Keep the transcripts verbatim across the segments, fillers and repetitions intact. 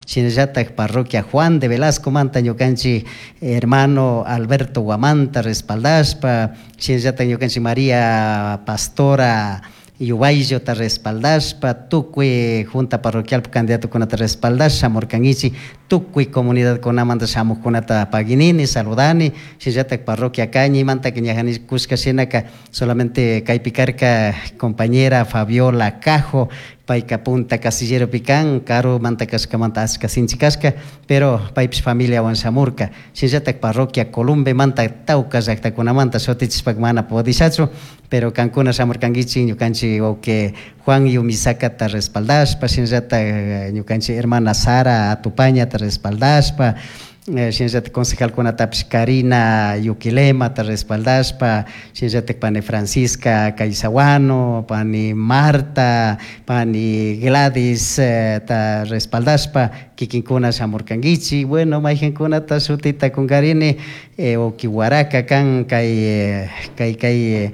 Shinallatak parroquia Juan de Velasco manta ñukanchik hermano Alberto Guamanta respaldashpa, shinallatak ñukanchik María Pastora Yubayllota respaldashpa, tukuy junta parroquial candidatokunata respaldash shamurkankichik, tukuy comunidadkunamanta shamuqkunata paginini, saludani, shinallatak parroquia Cañimanta ñajani kushka shinaka solamente kaypi karka compañera Fabiola Cajo, payka punta casilleropi kan, karumanta kashkamanta ashka sinchi kashka, pero paypish familiawan shamurka, shinallatak parroquia Columbemanta tawka llaktakunamanta shutichishpaka mana pudishachu, pero kankuna shamurkankichik ñukanchik wawqi Juan Yumisakata respaldashpa, shinallatak ñukanchik hermana Sara Atupañata respaldashpa, shinallatak concejalkunatapish Karina Yuquilemata respaldashpa, shinallatak pani Francisca Caizahuano, pani Marta, pani Gladys ta respaldashpa kikinkuna shamurkankichik. Bueno, mayqinkunata shutita kunkarini wawqi Huaraca kan kay kay kay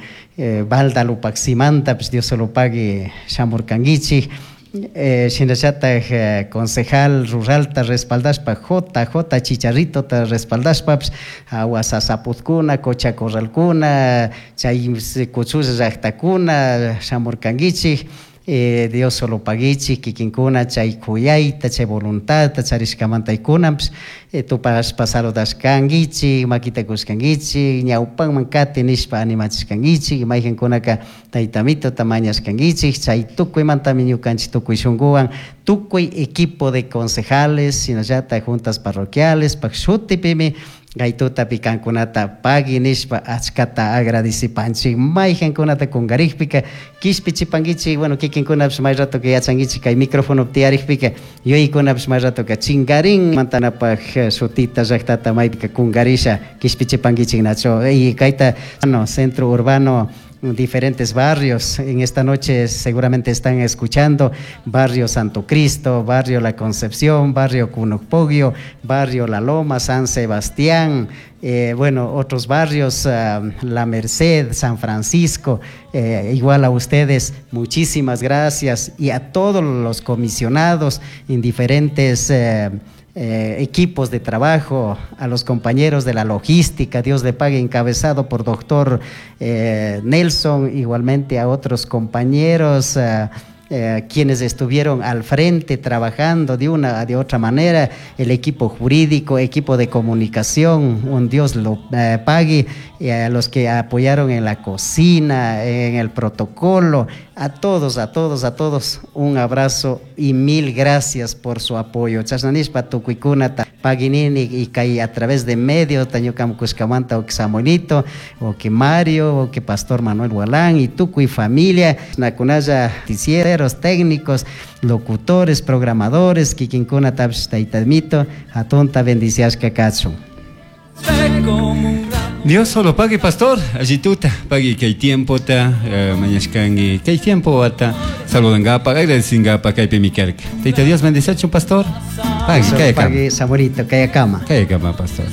Balda Lupacsimantapish Dios solo pagui shamurkankichik. Shinallatak concejal ruralta respaldashpa J J Chicharritota respaldashpapish awa sasaputkuna, Cocha Corralkuna, chay kuchulla llaktakuna shamurkankichik. Dios solo paguichik kikinkuna chay kuyayta, chay voluntadta charishkamanta kunanpish tupashpa saludashkankichik, makita kushkankichik, ñawpanman kati nishpa animachishkankichik, mayqinkunaka tayta Mitota mañashkankichik, chay tukuymantami ñukanchik tukuy shunkuwan, tukuy equipo de concejales, shinallatak juntas parroquiales, pak shutipimi kay tutapi kankunata pagui nishpa achkata agradecipanchik. Mayqinkunata kunkarikpika kishpichipankichik, bueno, kikinkunapish may ratoka yachankichik kay microfonopi tiyarikpika yuyaykunapish may ratoka chinkarin mantanapak shutita llaktata maypika kunkarisha kishpichipankichik nacho. Y kayta no, centro urbano, diferentes barrios. En esta noche seguramente están escuchando Barrio Santo Cristo, Barrio La Concepción, Barrio Cunocpogio, Barrio La Loma, San Sebastián, eh, bueno, otros barrios, uh, La Merced, San Francisco, eh, igual a ustedes, muchísimas gracias, y a todos los comisionados en diferentes eh, Eh, equipos de trabajo, a los compañeros de la logística, Dios le pague, encabezado por doctor eh, Nelson, igualmente a otros compañeros, eh, eh, quienes estuvieron al frente trabajando de una de otra manera, el equipo jurídico, equipo de comunicación, un Dios lo eh, pague, y a los que apoyaron en la cocina, en el protocolo, a todos, a todos, a todos, un abrazo y mil gracias por su apoyo. Chashnanishpa tukuykunata paginini y kay a través de medios, ñukam kushkamanta o que Samuelito, o que Mario, o que Pastor Manuel Gualán y tukuy familia, nakunalla noticieros, técnicos, locutores, programadores, kikinkunatapish tayta Mito, hatunta bendiciashka kachun. Dios solo pague, pastor. Allí tuta, pague kay tiempo ta, mañashkangi, kay tiempo wata, saludangapa, agradecingapa, kaypi mikarka. Tayta Dios bendiciachu, pastor. Pague, Pague, Samuelito, kay kama. Kay kama, pastor.